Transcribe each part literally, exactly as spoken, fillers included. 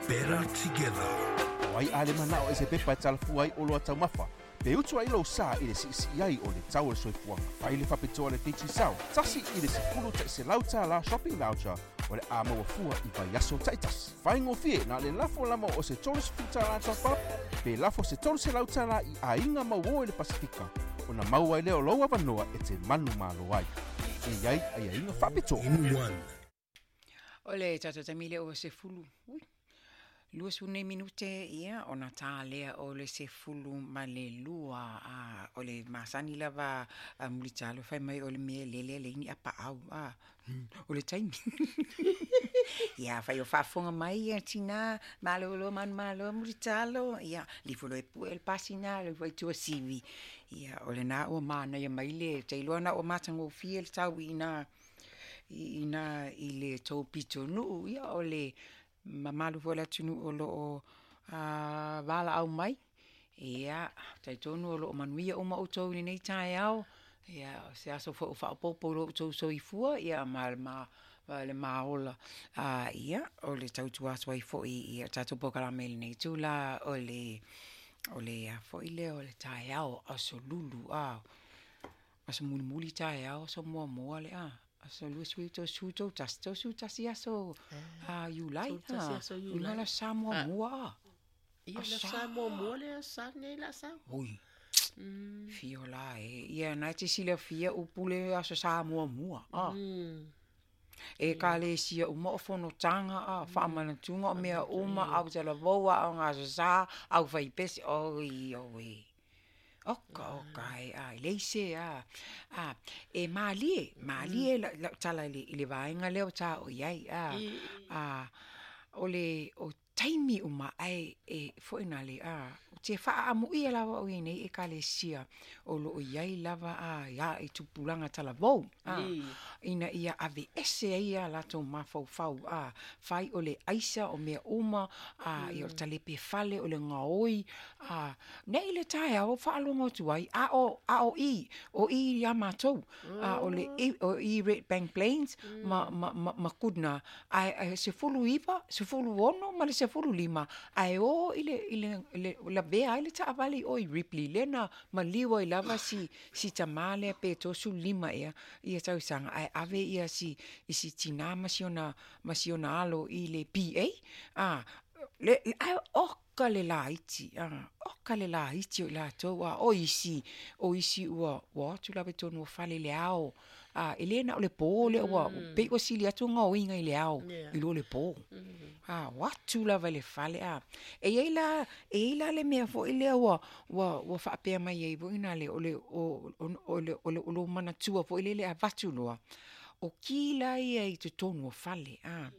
Better together. O ai a le manao e se pepa e talafua ai oloa taumafa, pe utu ai lou sa i le siisii ai o le tau o le soifuaga. Fai le faapitoa le Digicel, tasi i le sefulu ta'iselau tālā shopping voucher o le a maua fua i vaiaso ta'itasi. Faigofie na o le lafo lava o se tolu sefulu tālā top up, pe lafo se tolu selau tālā i aiga mauō i le Pasifika, ona maua ai lea o lou avanoa e te manumalo ai. E i ai aiaiga faapitoa. In one. O le tatou taimi lea ua sefulu ui lua sefulu nei minute ia ona tā lea o le sefulu ma le lua. A o le masani lava a mulitalo fai mai o le mea lele le ini apaau a o le taimi ia fai o faafofoga mai ia tina malolo manu malo mulitalo ia lifolo e pue le pasina le fai tuasivi ia o lena ua manaia mai le tailoa na ua matagofie le tau ina ina i le tou pitonuu ia o le mamalu foi o le atunuu o loo a valaau mai ia talitonu o loo manuia uma outou i lenei taeao. Ia o se aso foi ua faaopoopo i lo outou soifua ia ma le ma le maola. A ia o le tautua atu ai foi ia tatou polokalame i lenei itula o le o le a foi lea o le taeao aso Lulu a aso mulimuli taeao aso muamua le a aso lua sui tolusefulu tolu tasi tolusefulu tasi aso a Iulai Tolu tasi aso Iulai. ina le sa muamua a Ia le sa muamua le sa nei la sa. Ui fio la e ia na te silafia upu le aso sa muamua a Mm. e ekalesia uma o fonotaga a faamanatuga o mea uma au talavou aoga aso sa au faipese oi oe oka oka e a e leise a a e malie malie la lau tala i le i le vaega lea o ta o iai a a o le o taimi uma ae e foi na le a te faaamuia lava o nei ekalesia o loo iai lava a ia i tupulaga talavou a ina ia ave ese ai ia latou mafaufau a fai o le aisa o mea uma a ia o le talepe fale o le gaoi a nei le taeao faalogo atu ai a o a o i o i ia matou a o le i o i Redbank Plains ma ma ma, ma Goodna ae ae sefulu iva sefulu ono ma le sefulu lima ae o i le i le le lavea ai le taavale i o i Ripley lea na maliu ai lava si si tamā lea pe tolusefulu lima ea ia tausaga ae ave ia si i si tinā ma si ona ma si ona alo i le P A a le ae oka le laiti a oka le laiti o i latou a o isi o isi ua ua o atu lava i totonu o fale i le ao a e le na o le pō lea ua pei ua sili atu gaoiga i le ao Yeah. i lo le pō a o atu lava i le fale a e iai la e iai la le mea foi lea ua ua ua faapea mai ai foi na le o le o o o le o le o lo manatua foi lele avatu loa o ki la ia i totonu o fale a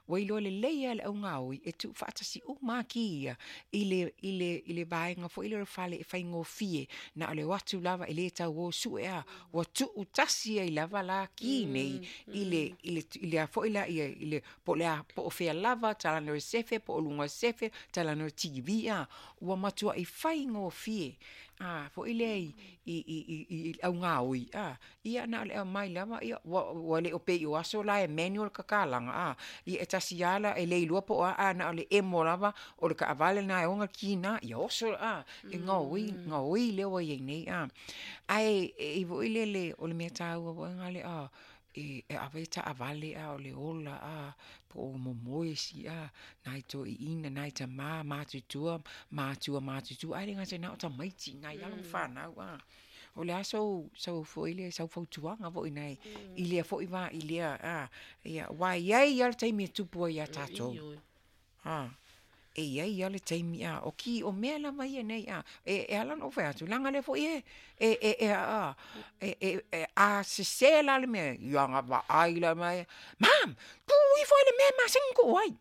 ua iloa lelei a le augaoi e tuu faatasi uma ki ia i le i le i le vaega foi lea o le fale e faigofie na o le o atu lava e lē tau o sue a ua tuu tasi ai lava la ki nei i le i le i le a foi la ia i le po o le a po o fea lava talanoa i sefe po o luga o sefe talanoa i T V a ua matuai faigofie a foi lea i i i i i augaoi a ia na o le aumai lava ia ua ua le o pei o aso la e manual kakalaga a ia e tasi ala e le iloa po o a a na o le emo lava o le kaavale na e oga kina ia oso a e gaoi gaoi lea ua iai nei a ae e i foi lele o le mea taua foi gale a e e ave taavale a o le ola a po o momoe si a nai toeaiina nai tamā matutua matua matutua ae le gata na o tamaiti nai alo ma fanau a o le a sou sau foi le sau fautuaga foi nai i lea foi va i lea a ia ua iai a le taimi e tupu ai ia tatou a e iai a le taimi a o ki o mea lava ia nei a e e ala ona ou fai atu leaga lea foi e e e e a e e e a sesē la le mea ia ga vaai la mai, "Mom, tuu ifo i le mea e masani kuu ai."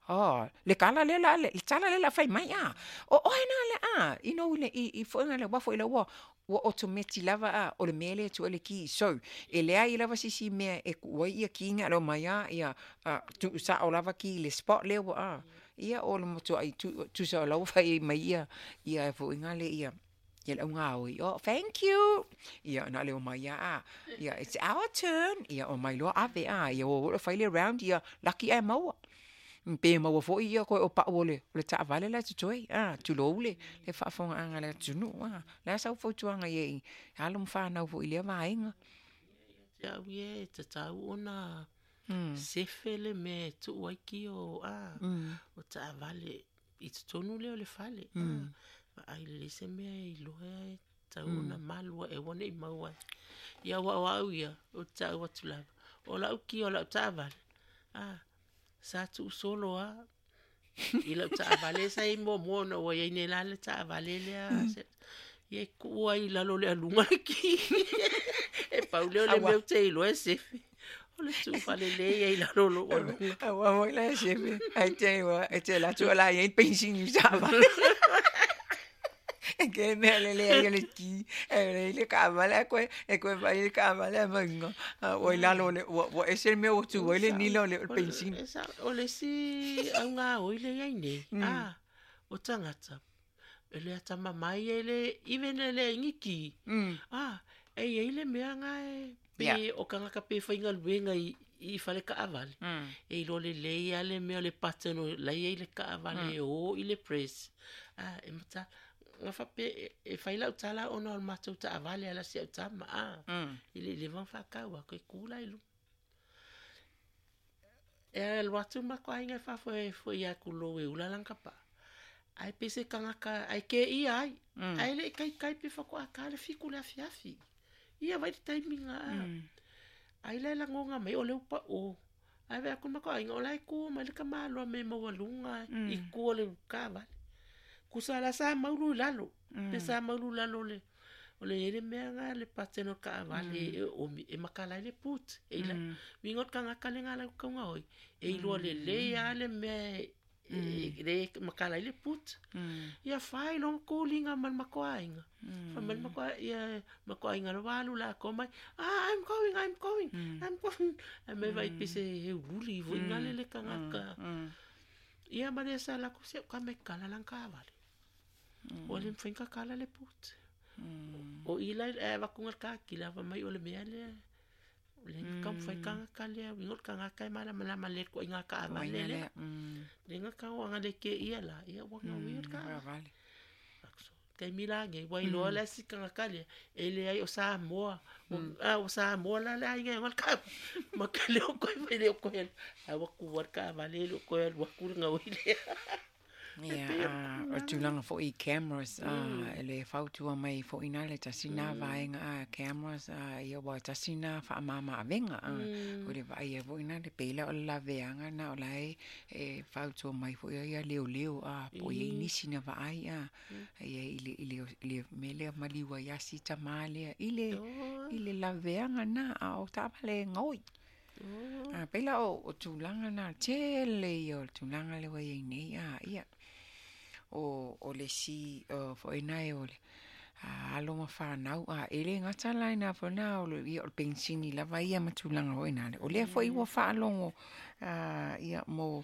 Oh, le kala le la le tala le la fai mai a. O oe na le a, you know le i i foi le wa foi le ua ua automatic lava a o le mea le tu le ki so e leai lava sisi mea e ku ai ia ki nga lo mai a ia tu sa o lava ki le spot le ua a ia o le motu ai tu tu sa lau fai mai ia ia foi ngale ia ia le auga oi, "Oh, thank you." Ia na le o mai a ia, "It's our turn." Ia o mai loa ave a ia o o fai le round ia lucky ai maua. Pe maua foʻi ia koe o paʻu o le o le taʻavale la e totoe a tulou le le faafofogaaga a le atunuu a le a sau fautuaga i ai alo ma fanau foʻi i lea vaega. Te au ia e tatau ona sefe le mea e tuu ai ki o a o taavale i totonu lea o le fale a vaai lelei se mea e iloa e tatau ona malu e aua ne i maua ai. Ia aua o au ia, ou te taua atu lava. O lau ki o lau taavale, a sa tuusolo lava i lau taavale sa i ai muamua ona ua iai nei la le taavale lea ia e tuu ai i lalo o le aluga le ki. E pau lea o le mea ou te iloa e sefe. O le tuufalelei ai i lalo o lou aluga. Aua foi la e sefe ai te ua e te alu atu o la e i ai le penisini i le taavale. E ke mea le leai o le ki e le le taavale ae koe e koe vaai i le taavale ae mauga ua i lalo o le ua ua ese le mea ua tu ai le nila o le penisini. O le isi augaoi le i ai nei, a o tagata e le atamamai e le even e leai ni ki. A e iai le mea lena e pe o tagata pe faigaluega i i fale taavale. E iloa lelei lava le mea o le pattern o la e i ai le taavale e o i le press. A e mata na faapea e fai lau tala ona o le matou taavale ala si au tama a i le leva ona faatau atu e tu la i luga. E alu atu ma matou aiga e faafoefoe atu lou e ula lana tapaa. Ae pei se tagata ae keia ai. Ae le i taitai pe faatoa ta le fitu le afiafi. Ia vai le taimi na a. Ai la e lagona mai o le upa o. Ae vaai atu le matou aiga o la e tu mai le tamaloa me maualuga i tua o le taavale. Kusa la sa maulu i lalo. Pe sa maulu i lalo o le o le i ai le mea lena le pattern o le taavale e omi e makala ai le boot. E ila uiga o le tagata lena lau taugaoi e iloa lelei lava le mea e le makala ai le boot. Ia fai loa tuliga ma le matou aiga. Fai mai le matou ia matou aiga loa ua alu latou mai, ah I'm going, I'm going, I'm going. Ae mai vaai pei se heululi foi lale le tagata. Ia ma le sa latou se ka mai kala lana taavale. Ua le mafai ona kakala le boot. O i la e avatu le kakila fai mai o le mea lea. O le taumafai tagata lea, uiga o le tagata e malamalama lelei i le ituaiga taavale lea. Le na tau le keia la, ia ua gaui le taavale. Taimi la nei, ua iloa le isi tagata lea, e leai o Samoa. A o Samoa la le aiga e ona le taavale. Ma ke le o koe fai le o koe alu. Ae ua tua le taavale e le o koe alu atu le gaoi lea. Ia, o tulaga foʻi i cameras a le fautua mai foʻi na le tasi na vaega a cameras a ia ua tasi na faamama-avega a o le vaaia foʻi na le pei la o le laveaga na o la e e fautua mai foʻi ai ia leoleo a po o i ai nisi na vaai a ia i le i le i le mea lea maliu ai lava si tamā lea i le i le laveaga na a o taavale e gaoi. A pei la o o tulaga na tele ia o le tulaga lea ua iai nei a ia o o le isi foʻi na e o le alo ma fanau a e le gata la ina foi na o le ia o le penisini lava ia ma tulaga foi nale o lea foʻi ua faalogo a ia mo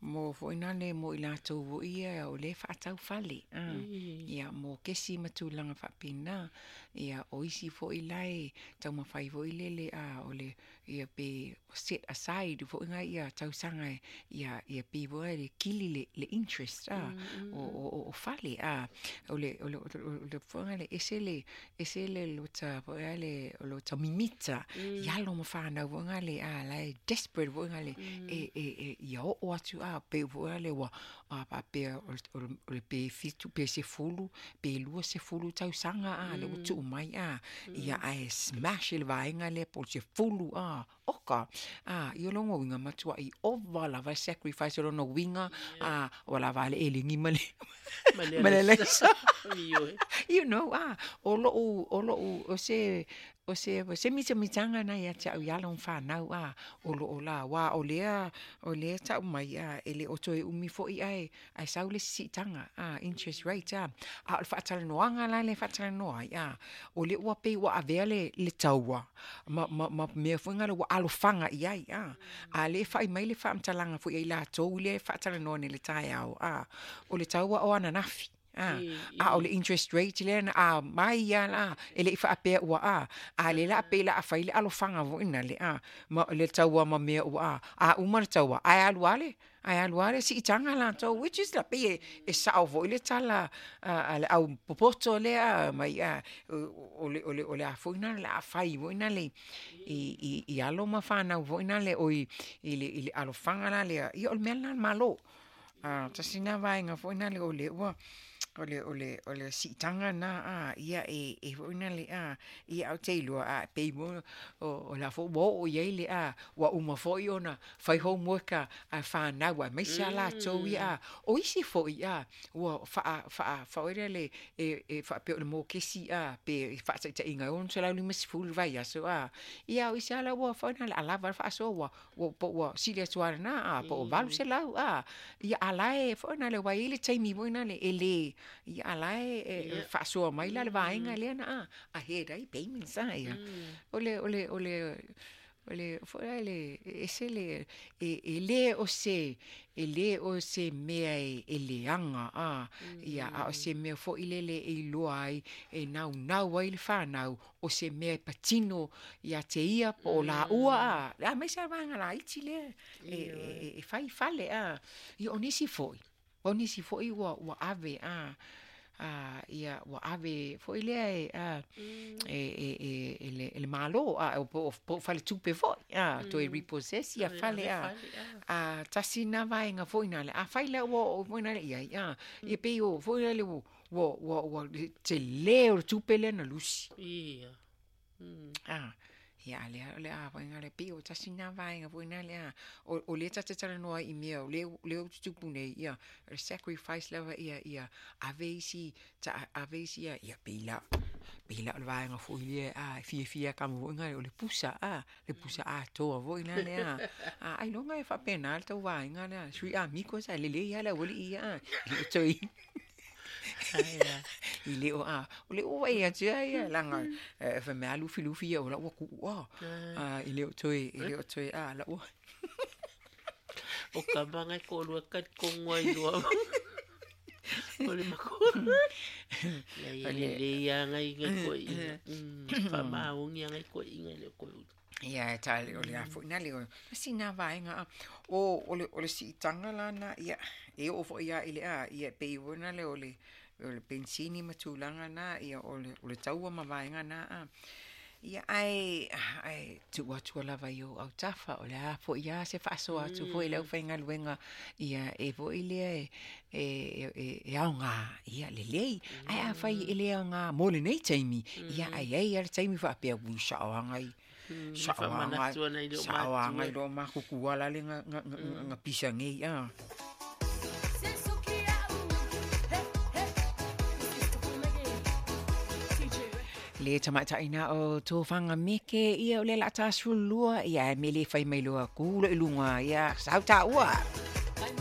mo foi nale mo i latou foʻi ia o lea e faatau fale a ia mo kesi ma tulaga faapena ia o isi foʻi la e taumafai foi lele a o le ia pe set aside foʻi nai ia tausaga e ia ia pei foi le kili le le interest a o o o fale a o le o le o le foi le ese le ese le lota foi le o lota mimita i alo ma fanau foi le a la e desperate foi le e e e ia oo atu a pe foi le ua a faapea o le pe fitu pe sefulu pe lua sefulu tausaga a le ua tuu mai a ia ae smash i le vaega lea po o le sefulu a oka a ia lona uiga matuai ova lava sacrifice o lona uiga a ua lava le elegi ma le ma le alaisa. You know a o lou o lou o se o se se mitamitaga na ia te au i alo ma fanau a o loo la aua o lea o lea tau mai a e le o toe umi foʻi ae ae sau le siitaga a interest rate a a o le faatalanoaga la le faatalanoa ai a o lea ua pei ua avea le le taua ma ma ma mea foi ngale ua alofaga i ai a a le fai mai le faamatalaga foi ai latou lea e faatalanoa nei le taeao a o le taua o ananafi a a o le interest rate lea na a mai ia la e le i faapea ua a a le la pe la a fai le alofaga foʻi le a ma le taua ma mea ua a a uma le taua ae alu ale ae alu ale siitaga latou which is la pei e, e sao foʻi le tala a, a le au popoto lea mai a o le o le o le a foʻi na le a fai foʻi na le i i i alo ma fanau foʻi na le oi i le i le alofaga la lea ia o le mea lena le malo a tasi na vaega foʻi na le o le ua o le o le o le siitaga na a ia e e foʻi na le a ia au te iloa a pei mo o o la fo ua oo iai le a ua uma foʻi ona fai homework a a fanau aemaise a latou ia a o isi foʻi a ua faa faa faoe lea le e e faapea o le mokesi a pe faataʻitaʻiga e ono selau lima sefulu le vaiaso a ia o isi ala ua faoe na le alava le faasoa ua ua po ua sili atu alana a po o valu selau a ia ala e foʻi na le ua iai le taimi foʻi na le e lē ia ala e e faasoa mai la le vaega lea na a a ahead ai payments a ia o le o le o le o le foʻi le ese le e e lē o se e lē o se mea e e leaga a ia a o se mea foʻi lele e iloa ai e naunau ai le fanau o se mea e patino ia te ia po o laua a aemaise a vaega laiti lea e e e fai fale a ia o nisi foʻi o nisi foʻi ua ua ave a a ia ua ave foʻi lea e a e e e e le e le malo a o po po faletupe foʻi a toe repossess ia fale a a tasi na vaega foʻi na le a fai lea ua oo foʻi na le iai a ia pei o foʻi na le ua ua ua telē o le tupe lea na lusi Ia. Mm. a ia lea o le a vaega le pei o tasi na vaega foʻi na le a o o lea tate talanoa i mea o lea lea ua tutupu nei ia o le sacrifice lava ia ia ave isi ta ave isi ia ia pei la pei la o le vaega foʻi lea a fiafia kama foʻi na o le pusa a le pusa atoa foʻi na lea a ailoga e faapena le tau vaega lea sui amigos a lelei a le aualiʻi ia a i le o toi Ai a. i le o a o le ua ia tia ia laga e fa mea lufilufi ia o la ua kuʻu a a i le o toe i le o toe a la ua O ka manga ko lua ka kongwa i lua. O le mako. Le o le le le ia ngai ngai ko inga. Mm. Fa maungi ngai ko inga le ko. Ia e ta le o le a foʻi na le o sina vaega a o o le o le siitaga lana ia e oo foʻi ia i le a ia pei ona le o le o le pensini ma tulaga na ia o le o le taua ma vaega na a ia ae ae tuu atu lava i ou autafa o le a foʻi a se faasoa atu foʻi le aufaigaluega ia e foʻi lea e e e e aogā ia lelei ae afai e lē aogā mo lenei taimi ia ai ai a le taimi faapea ui saoaga i Mm. saoaga Fa ana i le o saoaga i matua. lo makukuala le ga ga ga pisa nei a le tamaitaʻina o tofaga meke ia o le laʻa tasulua ia e mele fai mai loa kulo i luga ia sau taua.